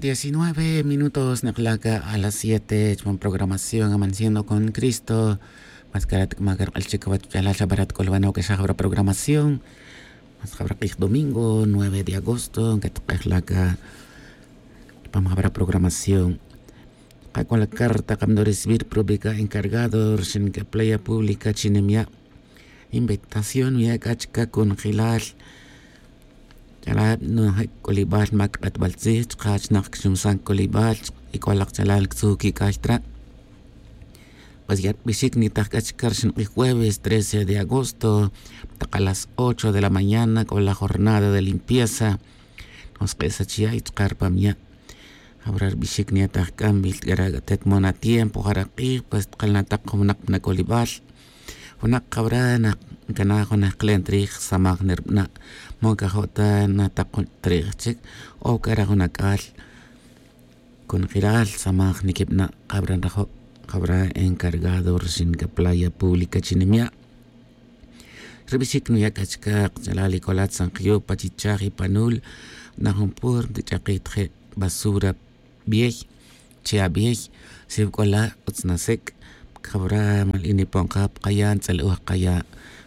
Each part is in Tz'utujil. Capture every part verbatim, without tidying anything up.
Diecinueve minutos nek'la' ca a las siete chupan programación Amaneciendo con Cristo. Mas carat c'ama cark'al chic wach ch'alal xa barat c'olbanoc xa jabra programación. Mas jabra k'ij domingo nueve de agosto ncatk'ej la ca chupan jabra programación. Kac'ol la carta kamdo recibir prubica encargado rxin ca playa pública chi nimya'. Invitación wi' ac'a chica conjelal. Ch'alal nojec c'olibal mac k'atbal tzij chka chnak cxumsan c'olibal. Y c'o lak ch'alal ctzuj quic'ay tra'. Pues ya rbixic nitaj c'a chica rxin k'ij jueves trece de agosto tak a las ocho de la mañana c'o la jornada de limpieza. Nosk'esa chi ya' y chka rpam ya'. Jabra rbixic niyataj c'a nbil c'a ra tet mona tiempo jara k'ij pues tk'alnatak jun winak pa na c'olibal. Jun nak jabra nak ncana jun ajk'len trij samaj nirbana'. Mo ncajo' ta natak jun trij chic o c'a ra jun ac'al conjelal samaj niquibana'. Jabra nrajo' jabra encargado rxin ca playa pública chi nimya'. Rbixic nuya' c'a chca kch'alal y c'o la tzankiyo pa chichaj y panul. Na jun pur ntich'akij tje' basura biey. Che' abiey. Siw c'o la utz nasec' jabra mal inipon ka pa kaya' ntz'el'uj kaya'.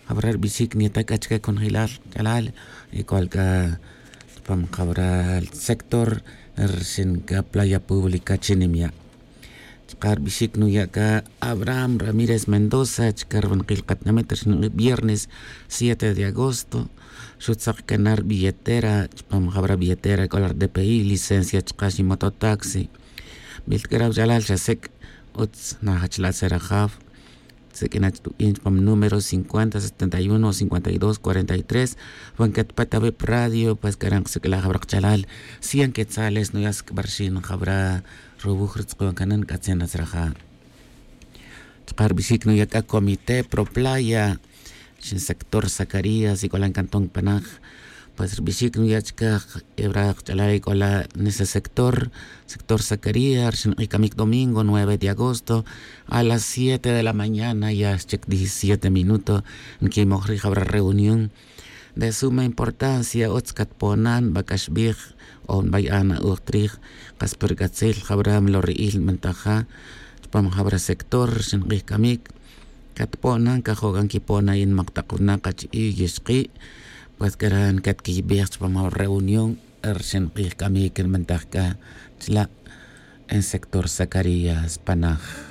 Jabra rbixic niyataj c'a chca conjelal ch'alal y c'o la c'a chupam jabra sector rxin ca playa pública chi nimya'. Chka rbixic nuya' c'a abraham ramírez mendoza chka rbanakil katinamit rxin viernes siete de agosto. Xutzak c'a na rbilletera chupam jabra billetera c'o la rdpi licencia chka ximototaxi. Bil c'a ra wach'alal xa sec' utz najach la' tzerajaw. Tzic'inach tubin chupam número cincuenta setenta y uno cincuenta y dos cuarenta y tres. Wan catpat awi' pa radio pues c'a ra nkasic'la' jabra kch'alal cien quetzales nuya' sic'ba rxin jabra ruwuj rutz'ukon cana nc'atzin natzraja'. Chka rbixic nuya' c'a comité pro playa rxin sector zacarías y c'o la ncanton panaj. Pues rbixic nuya' chca ebra kch'alal y c'o la nese sector sector zacarías rxin k'ij camic domingo nueve de agosto a las siete de la mañana ya xchic diecisiete minuto. Nquimoj rij jabra reunión de suma importancia utz catponan nbac'axbij o nbaya'a na'uj trij. Kas pur c'atzil jabra mlori'il nbantaja chupam jabra sector rxin k'ij camic. Catponan cajo' c'a nquipona yinmak tak winak achi'i yixki'. Pues c'a ra ncatquiyibej chupam jabra reunión rxin k'ij camic nbantaj c'a chla' en sector zacarías panaj.